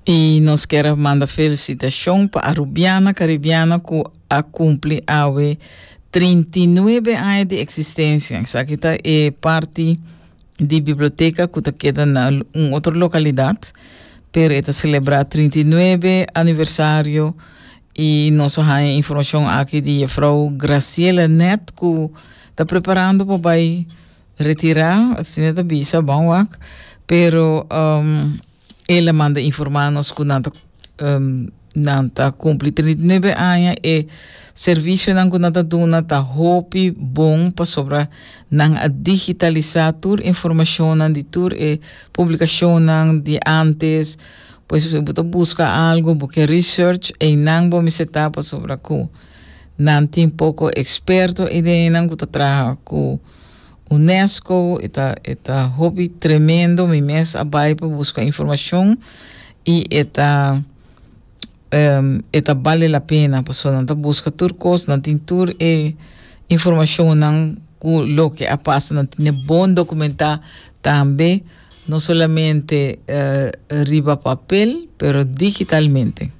I nos kier a manda felicitacion pa Arubiana Caribiana cu a cumpli awe 39 aña di existencia. Esaki ta e parti di biblioteca cu ta keda na un otro localidad, pero e ta celebra 39 aniversario y nos a haya informacion aki di juffrouw Graciela Net cu ta preparando pa bay retira, asina ta bisa, bon wak, pero um, El a manda informá nos ku nan ta nan ta kumpli 39 aña e servisionan ku nan ta duna ta hopi bon pasobra nan a digitalisá tur informashonnan di tur e publikashonnan di ántes. Pues si bo ta buska algu bo ke research einan bo mester ta pasobra ku nan tin poko eksperto einan ku ta traha ku UNESCO, e ta e ta hopi tremendo, mi mes a bai pa buska informashon i e ta e ta bale la pena pasobra nan ta buska tur kos, nan tin tur e informashonnan ku loke a pasa, nan tene bon dokumentá tambe, no solamente riba papel pero digitalmente.